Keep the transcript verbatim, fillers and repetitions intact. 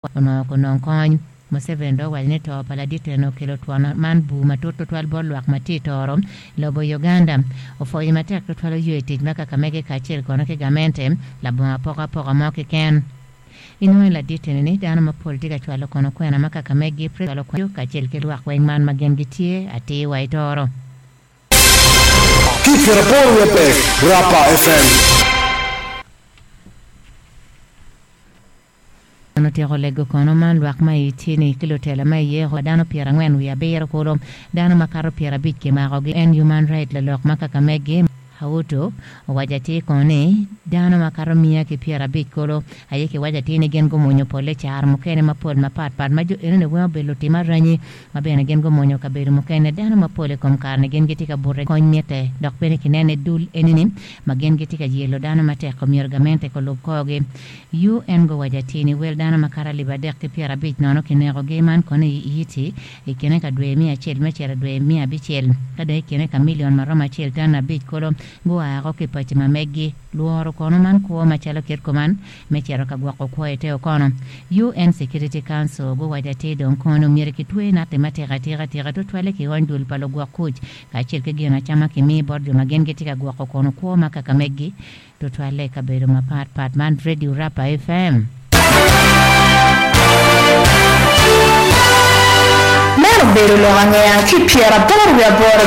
Onongo kunong kony. Museveni dok owaco ni to pa ladit eni okelo twon man bur matut tutwal bot lwak ma tye i toro lobo Uganda. Opwoyo matek tutwal oyo i tic ma kaka mege kacel kono ki gamente labongo apokapoka mo keken. Inongo ni ladit eni ni dano mapol tye ka cwalo kono kwena ma kaka megi kacel ki lwak weng man ma gin gitye atir wa i toro. Ki pyeraboro wiye adek, Rapa FM. En otyeko lego kono man lwak ma i tye-ni ki lutela ma iye wa dano pyerangwen wiye abiro kulu dano makato pyerabic kimakogi. En Human Right lalok ma kaka megi Hautu owaco atir kono ni dano makato miya ki pyerabic kulu aye kiwaco atir ni gin gumonyo polle caro mukene mapol mapatpat ma jo enoni weng obedo lutim aranyi ma bene gin gumonyo kabedo mukene. Dano mapol i kom kare-ni gin gitye ka bute kony mitte dok bene kinene dul enini ma gin gitye ka yelo dano matek omyero gamente kulub korgi. U N guwaco atir ni wel dano makato alip adek ki pyerabic nono kinekogi man kono i Haiti i kine ka dwe miya acel me cito dwe miya abicel ka dong i kine ka milion maromo acel tan abic kulu guako ki paci ma meggi lworo kono man kwo macalo kit kuman me cito ka gwoko kwo i te okono. U N Security Council guwaco atir dong kono myero kitwe natti matek atika tika tutwalle ki ony dul pa lugwok kuc kacel ki gin acama kimi bot jo ma gin gitye ka gwoko kono kwo ma kaka meggi tutwalle i kabedo mapatpat man Radio Rapa F M. Meno obedo lok angeya ki pyeraboro wiye aboro.